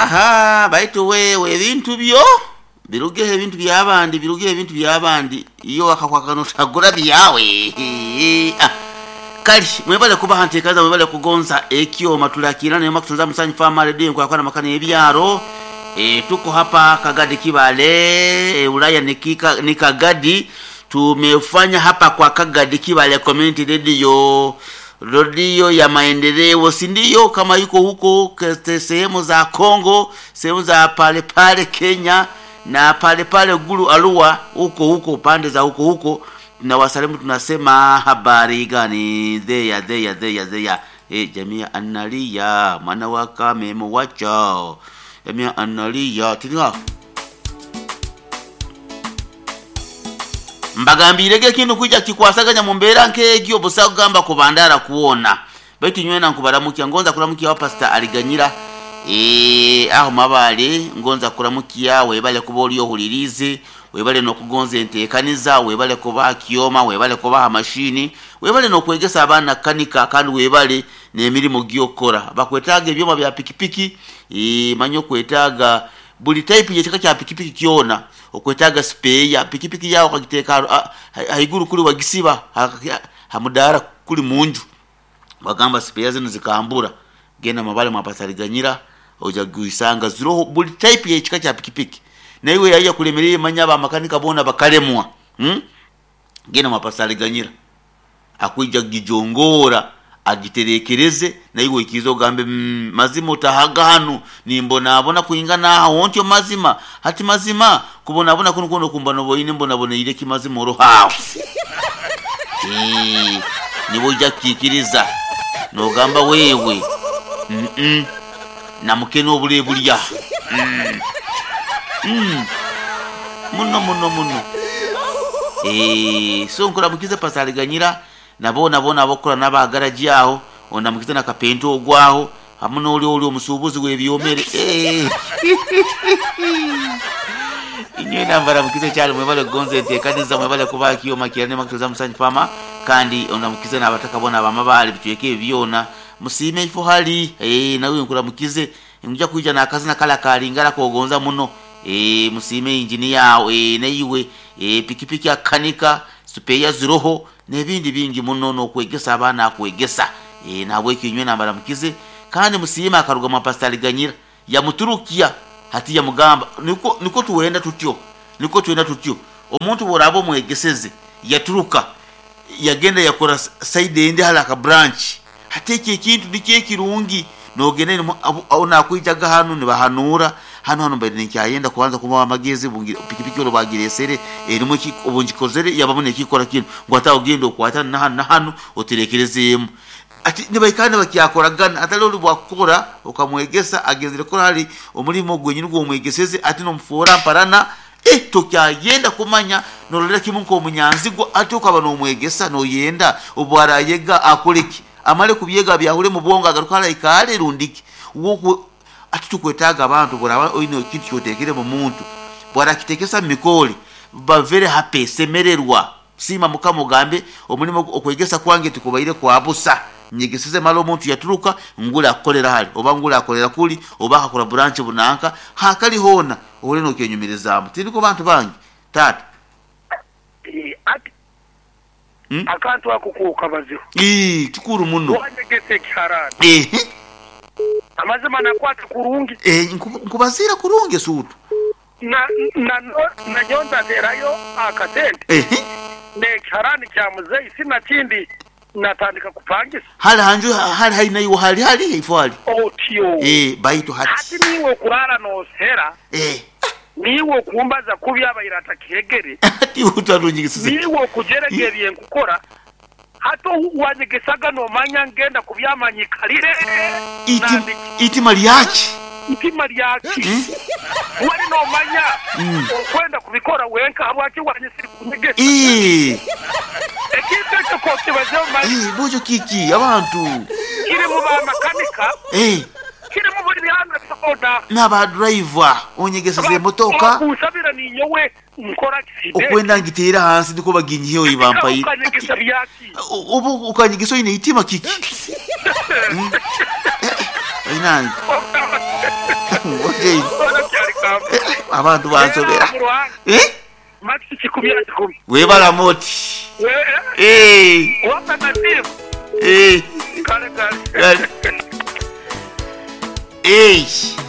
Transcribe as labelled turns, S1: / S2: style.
S1: Aha, baitu wewe ebintu byo birugeho ebintu by'abandi birugeho ebintu by'abandi iyo wakakwakana otagura byawe. Ah, kale mwebale kuba nteekaza mwebale kugonza ekyoma tulakira nayo makutunza musanyu fama radio nkwakwana makana ebyaro e, tuko hapa Kagadi Kibale e, Ulaya ni, kika, ni Kagadi tumefanya hapa kwa Kagadi Kibale Community Radio redio ya maendeleo, si ndio? Kama yuko huko sehemu za Kongo, sehemu za pale pale Kenya na pale pale Gulu Arua, huko huko pande za huko huko, na wasalimu tunasema habari gani? Zeya zeya zeya zeya e, jamii analia mwana wa kame muwacha jamii analia tilinga mbagambirege ekintu kwija kikwasaganya mu mbeera nk'egyo busa kugamba kubandara kuwona baitu nywena nkubaramukya ngonza kuramukia wa pastor aliganyira e, aho mabale ngonza kuramukia webale kuba oli ohulirize webale nokugonza enteekaniza webale kubaha kyoma webale kubaha mashini webale nokwegesa abaana kanika kandi webale n'emirimu gyokukora bakwetaaga ebyoma bya pikipiki e, manye okwetaaga buli type yekika kya pikipiki kyona okwetaaga spare pikipiki yawo okagiteeka haiguru kuli wagisiba hamudara kuli munju wagamba spare zino zikambura genda mabale mwapasaliganyira oja guisanga ziroho buli type yekika kya pikipiki naiwe yaiya kulemereye manya abamakanika bona bakalemwa hmm? genda mwapasaliganyira akwija gijongora agiterekereze naiwe ikiza ogambe mm, mazima otahaga hanu nimbonabona kuingana aho ontyo mazima hati mazima kubonabona kuno kuno kumba noboine mbonaboneire kimazima orohawo e, niwe ojja kukikiriza nogamba wewe mm -mm. namukene obule bulya mm. mm. muno muno muno e, so nkuramukize pasaliganyira nabo nabo nabokora n'abagaraji aho ondamukize na kapento ogwaho hamu n'oli oli omusuubuzi w'ebyomere eh. inywe nambaramukize kyali mwebale kugonza enteekaniza mwebale kuba kyoma kirane makutoza musanyu fama kandi ondamukize n'abataka bona abamabaale bitweke ebyo byona musiime ifo hali eh, nawe nkuramukize nja kuija n'akazina kala kalingala kogonza muno eh, musiime injiniya eh, neiwe eh, pikipiki akanika supeya ziroho n'ebindi bingi muno n'okwegesa abaana akwegesa e, nabwekyo inywe nambaramukize kandi musiime akaruga mwa pastor Ganyira yamuturukia hati yamugamba niko niko tuwenda tutyo niko tuwenda tutyo omuntu bworaba omwegeseze yaturuka yagenda yakora side endi hala ka branch hati ekyo ekintu nikyo ekirungi nogenda onakwijaga hanu nibahanura hano hano mbaire nikyayenda kubanza kubawa amagezi pikipiki olwo bagiresere erimu obungikozere yabamu nekikora kinu ngu ate ogenda okwata nahanu nahanu oterekerezeemu ati nibaikara nibakyakoragana atali oli bwakukora okamwegesa agenzere kukora hali omulimo gwenyini gwomwegeseze ati nomufuura mparana eh, tokyayenda kumanya nololera kimu nk'omunyanzigwa ati okaba nomwegesa noyenda obwarayega akoleki amale kubyega byahule mu bwongo agaruka alaikaale rundiki woku ati tukwetaaga abantu bw'oraba oine ekintu kyoteekere mu muntu bw'arakitekesa mu mikoli ba very happy semererwa siima mukama ogambe omulimu okwegesa kwange tikubaire kwa busa nyegeseze mala omuntu yaturuka ngula akukolera hali oba ngula akolera kuli oba akakora branch bunanka hakali hoona ohule nokyenyumirizaamu tindiko bantu bangi taata
S2: Ati
S1: Hmm?
S2: akantu ako kokabazeho
S1: Ii, kikuru muno
S2: wanyegesa ekiharani
S1: ehe
S2: amazima nakwata kurungi
S1: eh, nkubaziira kurungi esuutu
S2: na na nanyo ndaterayo akasente
S1: ehe
S2: nekiharani kya muzeyi sinakindi natandika kupangisa
S1: hali hanju hali hainaiwo hali hali ifo hali
S2: otyo
S1: eh, baitu
S2: hati
S1: hati
S2: niwe okurara nosera
S1: eh.
S2: niwe okumbaza kubi abaire atakihegere
S1: ati utarunyigisise
S2: niwe okujerega ebyenkukora hati wanyegesaga nomanya ngenda kubyamanyikalire
S1: iti
S2: nandiki
S1: itima lyaki
S2: itima lyaki wali nomanya okwenda kubikora wenka habwaki wanyisiri kunyegesa
S1: Eh,
S2: ekintu ekyo kokibazeho mali
S1: eh, bokyo kiki abantu
S2: kiri mu bamakanika
S1: eh,
S2: kiri mu buli byanga byona
S1: n'abadriver onyegeseze emotoka
S2: kusabira ninyowe nkora kiside
S1: okwenda ngiteera hansi ndiko baginyiheyo ibampaire
S2: ukanyegesa byaki
S1: oba okanyegesa oine itima kiki Mm. Eh, eh, oinange Jane. Abantu bansobera. Eh? Webalamu oti. Eh. Eh. Kale. Eh.